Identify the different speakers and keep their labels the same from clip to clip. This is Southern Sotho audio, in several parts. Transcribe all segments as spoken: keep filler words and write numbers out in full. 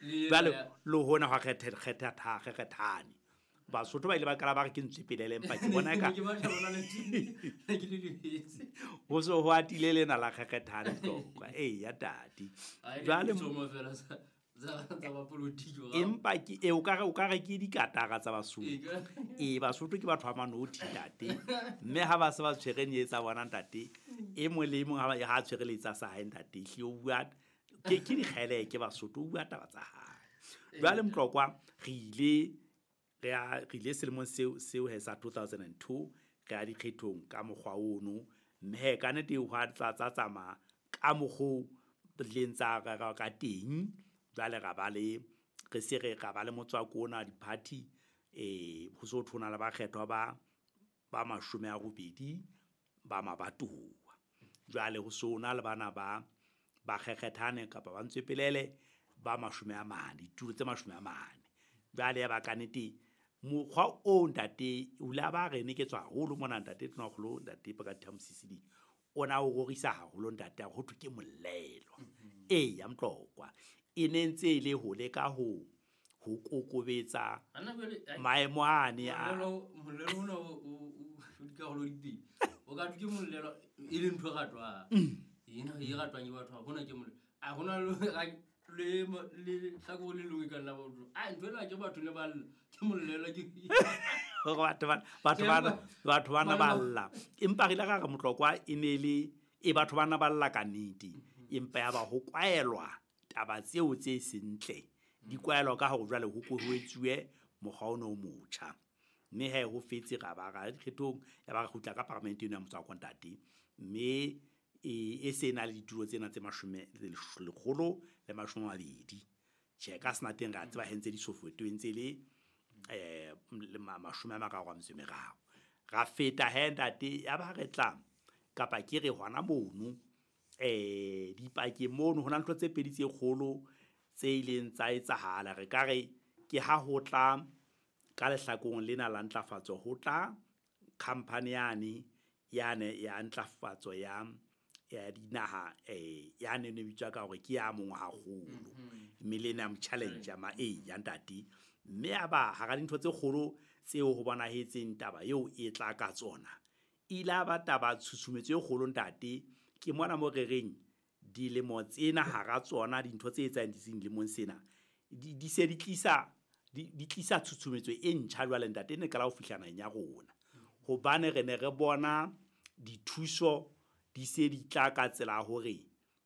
Speaker 1: Jwale le hona hwa kgethe kgetha kgethane. Basotho ba ile ba qala ba re ke ntswepelele empa ke bona ka
Speaker 2: Ke batla bona le ke le lebetse.
Speaker 1: Ho so ho atile lena la kgethane Tlokwa. Ee ya tate. Jwale
Speaker 2: tsomo fela sa tsa tsa ba politiki wa.
Speaker 1: Empa ke e o ka re o ka re ke dikatara tsa Basotho.
Speaker 2: Ee,
Speaker 1: Ee Basotho ke batho ba manothi ntate. Mme ha ba se ba tshwere nyetsa bona ntate, e mong le e mong ha ba ha tshwere letsa sa hae ntate, hle o bua ke ke dikgele ke Basotho o bua taba tsa hae. Jwale Mtlokwa re ile re a re ile selemong seo seo he sa two thousand and two re ya dikgethong ka mokgwa ono, mme he ka nnete hwa tla tsa tsamaya ka mokgo leng tsa ka ka teng. Jwale ra ba le re se re ra ba le motswako ona di-party, eh ho so thona le bakgethwa ba ba mashome a robedi ba mabatowa. Jwale ho so na le bana ba ba kgekgethane kapa ba ntswepelele ba mashome a mane, ditulo tse mashome a mane. Jwale ya ba ka nnete mokgwa o ntate o la ba re ne ke tswa haholo mona ntate Tonakgolo ntate Pakati Mosisili o na o rorisa haholo ntate ho thwe ke mollelo.
Speaker 2: Mm-hmm.
Speaker 1: Ee ya Mtlokwa e ne ntse e le ho leka ho ho kokobetsa
Speaker 2: Ana jwale, ai,
Speaker 1: maemo ane a
Speaker 2: mollelo, mollelo ona o, o, o, o dikarolo di pedi. O ka thwe ke mollelo e le ntho e ratwang.
Speaker 1: Mm.
Speaker 2: Ena e ratwang ke batho, ha hona ke mollelo. A hona le, le, le hlakore le lengwe ka nna ba utlwa. Ah, ntho ena ke batho ne ba lla. Ke mollelo ke
Speaker 1: Hore batho ba, batho ba, batho bana ba lla. Empa re ile ra re Motlokwa e ne le, e batho bana ba lla ka nnete. Empa ya ba ho kwaelwa taba tseo tse sentle. Di kwaelwa ka hore jwale ho ko ho etsuwe mokgwa ona o motjha. Mme he ho fetse ra ba ra dikgethong, ya ba re kgutla ka parlamente eno ya motswako ntate. Mme e, e se na le ditulo tsena tse mashome, lekgolo le mashome a mabedi. Tjhe, ka sena teng re a tseba he ntse di sofo, e ntse le, eh, le ma-, mashome a mararo a metso e meraro. Ra feta he ntate, ya ba re tla, kapa ke re hona mono, eh, dipakeng mono, ho na le ntho tse pedi tse kgolo tse ileng tsa etsahala. Re ka re ke ha ho tla ka lehlakoreng lena la ntlafatso, ho tla company yane, yane ya ntlafatso ya, ya dinaha, eh, ya ne ne bitswa ka hore ke ya mongwahakgolo.
Speaker 2: Mm-hmm.
Speaker 1: Millennium Challenge ya ma, eh, ya ntate. Mme ya ba hara dintho tse kgolo tseo ho bonahetseng taba eo e tla ka tsona, e ile ya ba taba tshusumetso e kgolo ntate. Ke mona mo re reng dilemo tsena hara tsona dintho tse etsahetseng dilemong sena, di, di se di tlisa, di, di tlisa tshusumetso e ntjha jwale ntate, e ne qala ho fihla naheng ya rona. Hobane re ne re bona dithuso di se di tla ka tsela ya hore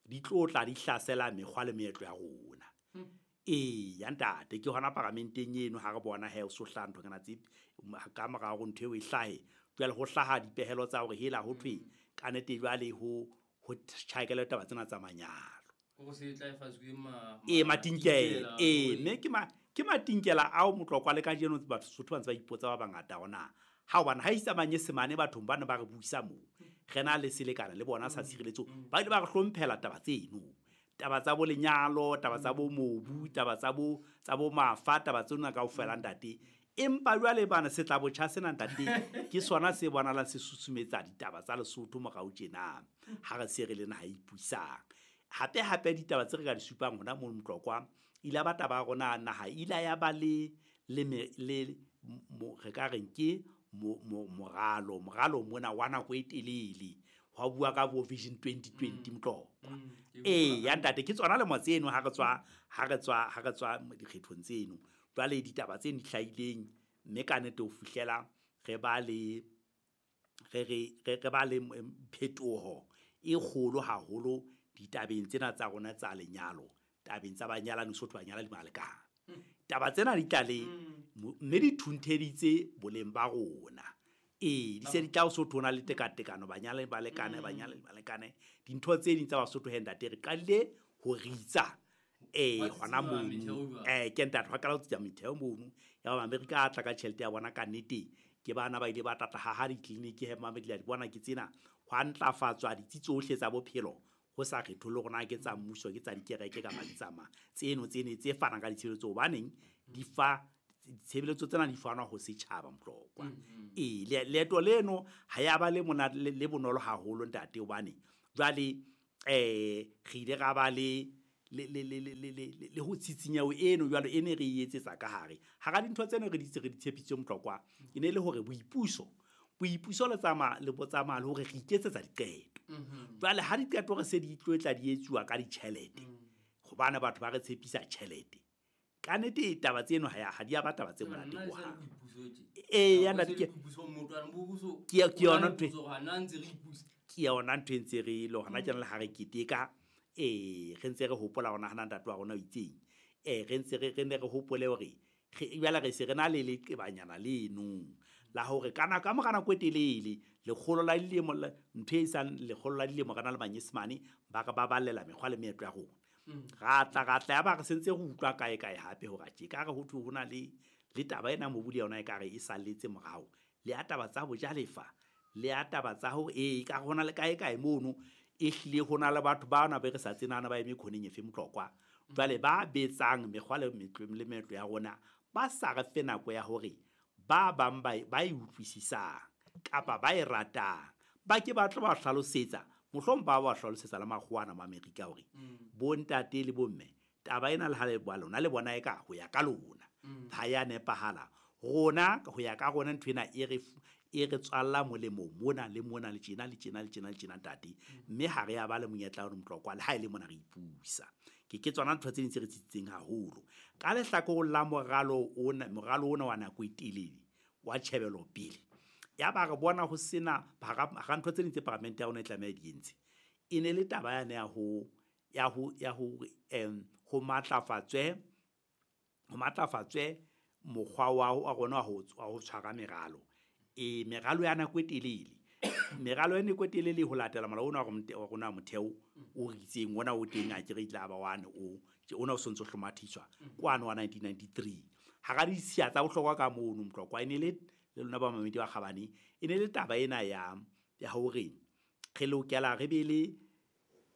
Speaker 1: di tlo tla di hlasela mekgwa le meetlo ya rona.
Speaker 2: Hmm.
Speaker 1: Ee, ya ntate, ke hona paramenteng eno ha re bona he o so hlaha ntho kana tse, ka mora hore ntho eo e hlahe, jwale ho hlaha dipehelo tsa hore hela ho thwe
Speaker 2: Hmm.
Speaker 1: ka nnete jwale ho, ho tjhakele taba tsena tsa manyalo.
Speaker 2: Hore se tla e fatswe ke ma-,
Speaker 1: Ee, matinkela.
Speaker 2: matinkela,
Speaker 1: Ee,
Speaker 2: hore
Speaker 1: mme ke ma-, ke matinkela ao Motlokwa le kajeno batho Sotho ba ntse ba ipotsa ba bangata hore na ha hobane ha isa manyesemane bathong ba ne ba re buisa moo, re na le selekane le bona sa
Speaker 2: Mm.
Speaker 1: tshireletso,
Speaker 2: Mm.
Speaker 1: ba ile ba re hlomphela taba tseno. Taba tsa bo lenyalo, taba tsa bo mobu, taba tsa bo, tsa bo mafa, taba tsena kaofela ntate. Empa jwale bana se tla botjha sena ntate, ke sona se bonahalang se susumetsa ditaba tsa Lesotho morao tjena, ha re se re le naha e ipusang. Hape hape ditaba tse re ka di supang hona moo Motlokwa, ile ba taba ya rona naha ile ya ba le, le me, le mo, re ka reng ke mo, mo, moralo, moralo mona wa nako e telele. Hwa bua ka bo Vision twenty twenty
Speaker 2: Mm.
Speaker 1: Motlokwa.
Speaker 2: Mm. Ke
Speaker 1: Ee,
Speaker 2: utlwa.
Speaker 1: ya ntate, ke tsona lemo tseno ha re tswa, ha re tswa, ha re tswa dikgethong tseno. Jwale ditaba tse di hlahileng, mme ka nnete ho fihlela re ba le, re, re, re, re ba le, em, phetoho e kgolo haholo ditabeng tsena tsa rona tsa lenyalo, tabeng tsa banyalani, Sotho banyalani ba lekana.
Speaker 2: Mm.
Speaker 1: Taba tsena di tla le,
Speaker 2: Mm.
Speaker 1: mo-, mme di thuntheditse boleng ba rona. Ee, di se di tla ho Sotho ho na le tekatekano, banyalani ba lekane,
Speaker 2: Mm.
Speaker 1: banyalani ba lekane. Dintho tse ding tsa Basotho he ntate, re qadile ho ritsa. Ee,
Speaker 2: Wa
Speaker 1: hona
Speaker 2: tsitsima
Speaker 1: mono.
Speaker 2: metheo jwang?
Speaker 1: Eh, ke ntate, hwa qala ho tsitsa metheo mono. Ya ba Amerika a tla ka tjhelete ya bona ka nnete. Ke bana ba ile ba tla tla haha ditleliniki he Mamedi la di bona ke tsena. Hwa ntlafatswa ditsi tsohle tsa bophelo. Ho sa kgetholle hore na ke tsa mmuso, ke tsa dikereke kapa di tsa mang. Tseno tsene tse fanang ka ditshebeletso hobaneng di fa ditshebeletso tsena di fanwa ho setjhaba Motlokwa.
Speaker 2: Mm-hmm.
Speaker 1: Ee, le-, leeto leno ha ya ba le monate, le, le bonolo haholo ntate, hobane jwale, eh, re ile ra ba le le le le le le le ho tsitsinyeho eno jwalo e ne re e etsetsa ka hare. Hara dintho tseno re di re di tshepisitse Motlokwa e ne le hore boipuso boipuso le tsamaya le botsamaya le hore re iketsetsa diqeto. Jwale ha diqeto re se di tlo tla di etsuwa ka ditjhelete hobane batho ba re tshepisa tjhelete. Ka nnete taba tseno ha ya ha di a ba taba tse monate ho hang. Eh ya ntate ke ke ke yona ntho ke yona ntho e ntse re le hona tjena le ha re keteka eh re ntse re hopola hona hana ntate wa rona o itseng eh re ntse re re ne re hopole hore re jwale re se re na le leqebanyana leno la hore kana ka mora nako e telele lekgolo la dilemo ntho e sang lekgolo la dilemo re na le manyesemane ba re ba ballela mekgwa le meetlo ya rona. Ra tla ra tla ya ba re sentse re utlwa kae kae hape hore tje ka re ho thwe hona le le taba ena mobudi yona e ka re e salletse morao le ya taba tsa bojalefa le ya taba tsa hore e ka hona le kae kae mono e hlile hona le batho ba na be re sa tsenana ba eme khoneng efe Motlokwa jwale ba betsang mekgwa le le meetlo ya rona ba sa re fe nako ya hore ba bang ba ba e utlwisisang kapa ba e ratang ba ke ba tlo ba hlalosetsa mohlomong ba ba hlalosetsa le makgowana ma Amerika hore bo ntate le bomme taba ena le ha le bua lona le bona e ka ho ya ka lona ha ya nepahala rona ho ya ka rona ntho ena e re e re tswalla molemo mona le mona le tjena le tjena le tjena le tjena ntate mme ha re ya ba le monyetla wa Motlokwa le ha e le mona re ipusa ke ke tsona ntho tse ding tse re tsitsitseng haholo ka lehlakoreng la moralo ona moralo ona wa nako e telele wa tjhebelopele ya ba re bona ho sena hara ntho tse ding tse paramente ya rona e tlameha di entse e ne le taba yane ya ho ya ho ya ho em ho matlafatswe ho matlafatswe mokgwa wa rona wa ho tshwara meralo e meralo ya nako e telele meralo ya nako e telele ho latela molao ona wa rona motheo o ritseng ona o teng a ke re tla ba wane o ona o sontso hlomathiswa kwano wa nineteen ninety-three hara ditshiya tsa bohlokwa ka mono Motlokwa e ne le le lona ba mamedi ba kgabane e ne le taba ena ya ya hore re lokela re be le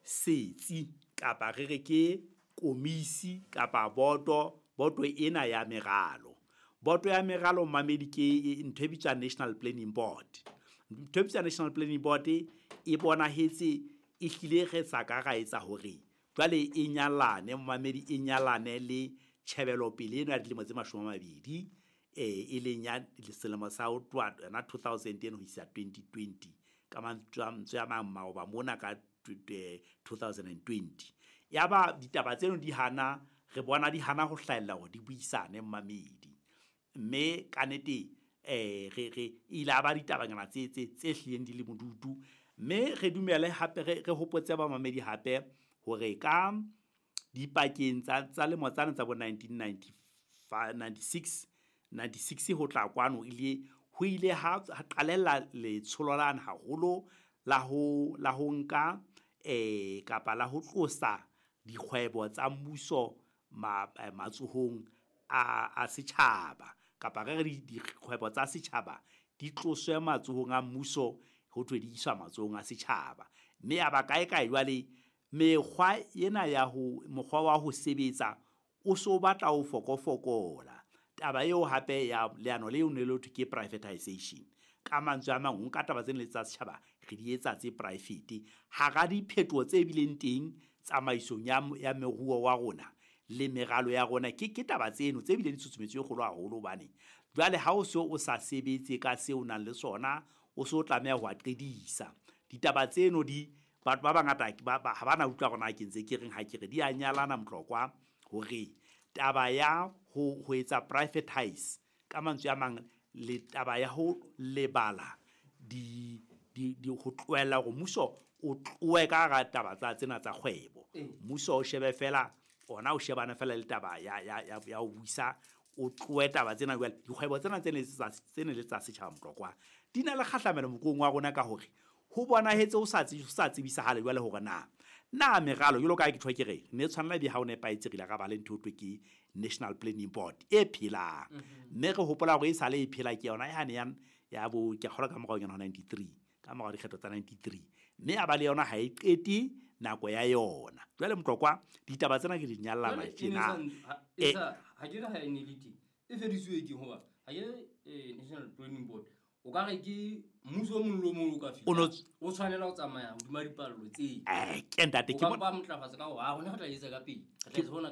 Speaker 1: setsi kapa re re ke komisi kapa boto boto ena ya meralo boto ya meralo mamedi ke ntho e bitswang National Planning Board ntho e bitswang National Planning Board e bonahetse e hlile re sa ka ra etsa hore jwale e nyalane mamedi e nyalane le tjhebelopele eno ya dilemo tse mashome a mabedi eh e leng ya selemo sa ho tloha yona two thousand ho isa twenty twenty ka mantswe a mang maoba mona ka two thousand twenty ya ba ditaba tseno di hana re bona di hana ho hlahella hore di buisane mamedi mme ka nnete eh re re ile ba ditabanyana tse tse tse hlileng di le modutu mme re dumele hape re re hopotse ba mamedi hape hore ka dipakeng tsa tsa lemo tsane tsa bo nineteen ninety-five ninety-six ninety-six ho tla kwano ile ho ile ha qalella letsholo lana haholo la ho la ho nka eh kapa la ho tlosa dikgwebo tsa mmuso matsohong a a setjhaba kapa re re dikgwebo tsa setjhaba di tloswe matsohong a mmuso ho thwe di iswa matsohong a setjhaba mme ya ba kae kae jwale mekgwa ena ya ho mokgwa wa ho sebetsa o so batla ho fokofokola taba eo hape ya leano leo ne le thwe ke privatization ka mantswe a mang ho nka taba tsena le tsa setjhaba re di etsa tse private hara diphetoho tse bileng teng tsamaisong ya ya moruo wa rona le meralo ya rona ke ke taba tseno tse bileng di tshusumetso e kgolo haholo hobane jwale ha o so o sa sebetse ka seo o nang le sona o so tlameha ho a qedisa ditaba tseno di batho ba bangata ba ha bana utlwa rona ke ntse ke reng ha ke re di a nyalana Motlokwa hore taba ya ho ho etsa privatize ka mantswe a mang le taba ya ho lebala di di di ho tlohella hore mmuso o tlohe ka hara taba tsa tsena tsa kgwebo mmuso o shebe fela ona o shebana fela le taba ya ya ya ho buisa o tlohe taba tsena jwale dikgwebo tsena tse ne tsa tsene le tsa setjhaba Motlokwa di na le kgahlamelo moruong wa rona ka hore ho bonahetse o sa tse sa tsebisahale jwale hore na na meralo jwalo ka ke tjho ke re ne tshwanela be ha o nepahetse re ile ra ba le ntho e thwe ke National Planning Board e phelang mme re hopola hore e sale e phela ke yona yane ya ya bo ke kgolwa ka morao yona ninety-three ka morao dikgetho tsa ninety-three mme ya ba le yona ha e qete nako ya yona jwale Motlokwa ditaba tsena ke di nyallana tjena
Speaker 2: e sa ha ke re ha e ne le teng e fedisuwe ke hoba ha ke National Planning Board O ka re ke mmuso o mong le o mong o ka
Speaker 1: O no-
Speaker 2: fihla o tshwanela ho tsamaya hodima dipallo tseo.
Speaker 1: Eh, ke ntate
Speaker 2: O
Speaker 1: ke
Speaker 2: ka
Speaker 1: bona
Speaker 2: mpa matlafatsa ka hore, "Ah, rona re tla etsa ka pele, re tla etsa hona ka